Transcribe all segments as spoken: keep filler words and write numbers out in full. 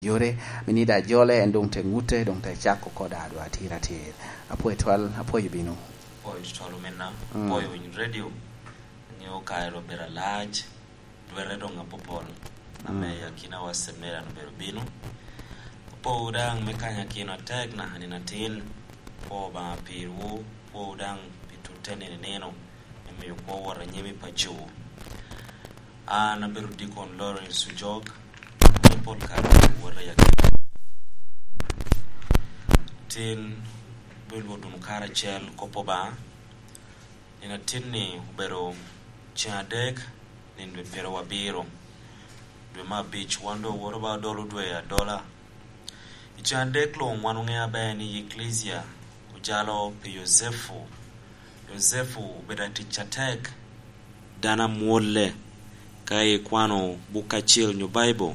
Yore, mini da jole, en doŋ te ŋute, doŋ te cako oko da dwa atir atir. Apwoyo twal, apwoyo bino. Apwoyo twal ominna, Mm. apwoyo Winy Radio, ni okaero obedo alac, dwete doŋ apopol, ame Mm. i akinawa Semera obedo bino. Apowu daŋ me kanyakino atek naka nino atin, apwo Obaŋa pirwu, apwowu daŋ pi tutte nino nino, me miyo kwo wot anyim i pacowu. An abedo Dikon Lawrence Ojok, me pol kare wot i akina. Tin, obedo Lwot wunu karacel kop Obaŋa. Nino atin-ni obedo ceŋ adek, nino dwe pyeraryo abiro, dwe me abic, wan doŋ owoto ba odolo dwe adola. I ceŋ adek luŋ wan oŋeo aber ni Eklisia ojalo pi Yocefu. Yocefu obedo atic atek, dano amwolle. Ka ikwano buk acel nyo Baibul,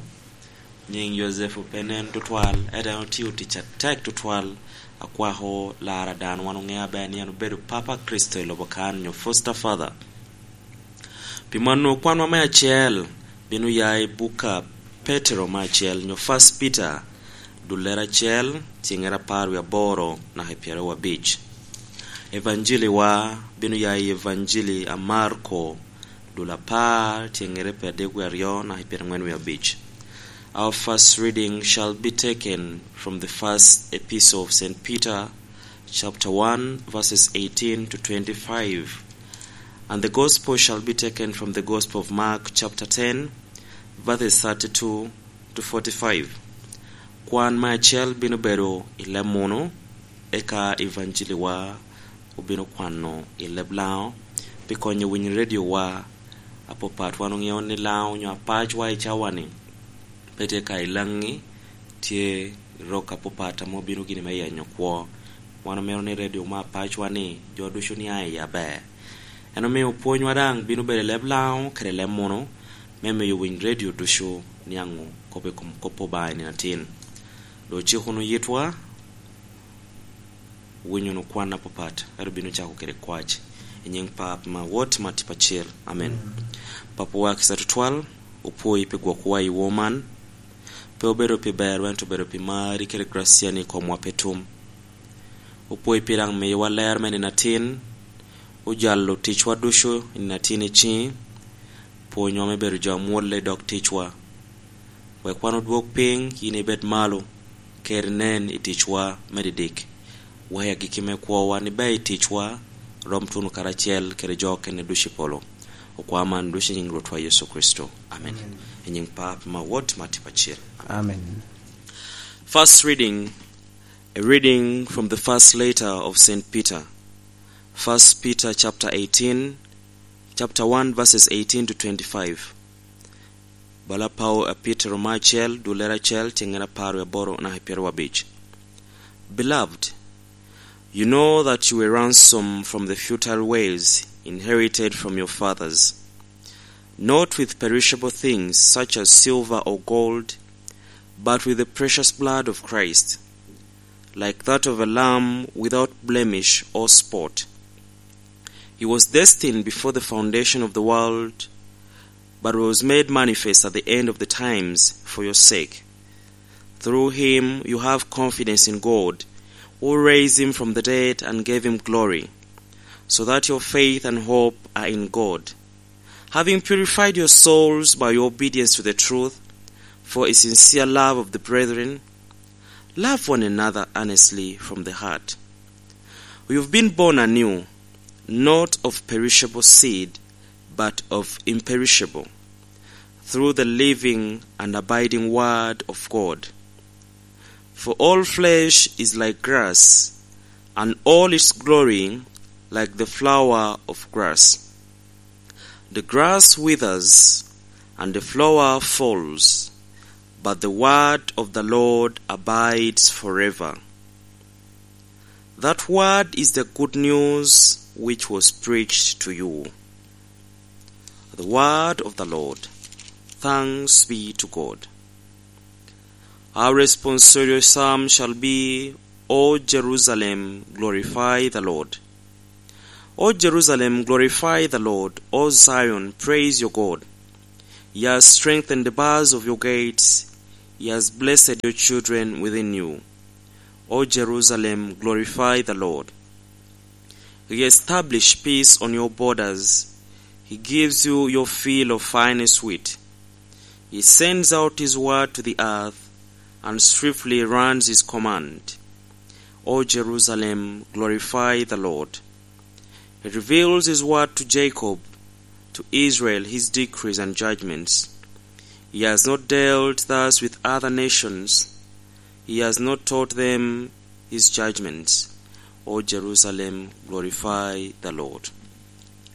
nyiŋ Yocefu pe nen tutwal, ento en otio tic atek tutwal, akwako lar a dano. Wan oŋeo aber ni en obedo Papa Kricito i lobo kan, nyo Foster Father. Pi mano, kwanwa me acel bino ya i buk a Petero me acel, nyo First Peter, dullere acel, cengere apar wie aboro naka i pyeraryo abic. Evanjiliwa bino ya i Evanjili a Marko, dul apar, cengere pyeraryo wie aryo naka i pyerangwen wie abic. Our first reading shall be taken from the first epistle of Saint Peter, chapter one, verses eighteen to twenty-five. And the gospel shall be taken from the gospel of Mark, chapter ten, verses thirty-two to forty-five. Kwan me acel bino bedo i leb munu, eka Evanjiliwa obino kwano i leb Laŋo, pi konyo Winy Radiowa apapat. Wan oŋeo ni Laŋo nyo apacwa i cawa-ni pe tye ka i Laŋi, tye i rok apapat ame obino gini me yenyo kwo. Wan omito ni radio me apacwa-ni jo ducu ni a iye aber. En omio pwonywa daŋ bino bedo i leb Laŋo kede leb munu, me miyo Winy Radio ducu niaŋ kop i kom kop Obaŋa i nino atin. Doŋ cik wunu yitwa, winy wunu kwan apapat, ento bino cako kede kwac. I nyiŋ Papa, Wod, ma tye i acel. Amen. Amen. Papawa Kricito tutwal, opwoyi pi gwokowa i woo man. Pe obedo pi berwa, ento obedo pi mari kede graciani i komwa pe tum. Opwoyi pi daŋ miyowa ler me nino atin, ojalo ticwa ducu i nino atin i ciŋi. Pwonywa me bedo jo amwolle i dog ticwa. Wek wan odwog piny, yin ibed malo, kede nen i ticwa me didik. Wek agikki me kwowa ni ber i ticwa rom tuno karacel kede jo okene ducu i polo. Okwa man ducu i nyiŋ Rwotwa Yecu Kricito. Amen. Amen. I nyiŋ Papa, ma Wod, ma tye i acel. Amen. First reading, a reading from the first letter of Saint Peter. First Peter chapter eighteen, chapter one, verses eighteen to twenty-five. Bala Paulo a Petero me acel, dullere acel, cengere apar wie aboro naka i pyeraryo abic. Beloved, you know that you were ransomed from the futile ways inherited from your fathers, not with perishable things such as silver or gold, but with the precious blood of Christ, like that of a lamb without blemish or spot. He was destined before the foundation of the world, but was made manifest at the end of the times for your sake. Through him you have confidence in God, who raised him from the dead and gave him glory, so that your faith and hope are in God. Having purified your souls by your obedience to the truth, for a sincere love of the brethren, love one another earnestly from the heart. You've been born anew, not of perishable seed, but of imperishable, through the living and abiding word of God. For all flesh is like grass, and all its glory like the flower of grass. The grass withers, and the flower falls, but the word of the Lord abides forever. That word is the good news which was preached to you. The word of the Lord. Thanks be to God. Our responsorial psalm shall be, O Jerusalem, glorify the Lord. O Jerusalem, glorify the Lord. O Zion, praise your God. He has strengthened the bars of your gates. He has blessed your children within you. O Jerusalem, glorify the Lord. He established peace on your borders. He gives you your fill of finest wheat. He sends out his word to the earth and swiftly runs his command. O Jerusalem, glorify the Lord. He reveals his word to Jacob, to Israel his decrees and judgments. He has not dealt thus with other nations. He has not taught them his judgments. O Jerusalem, glorify the Lord.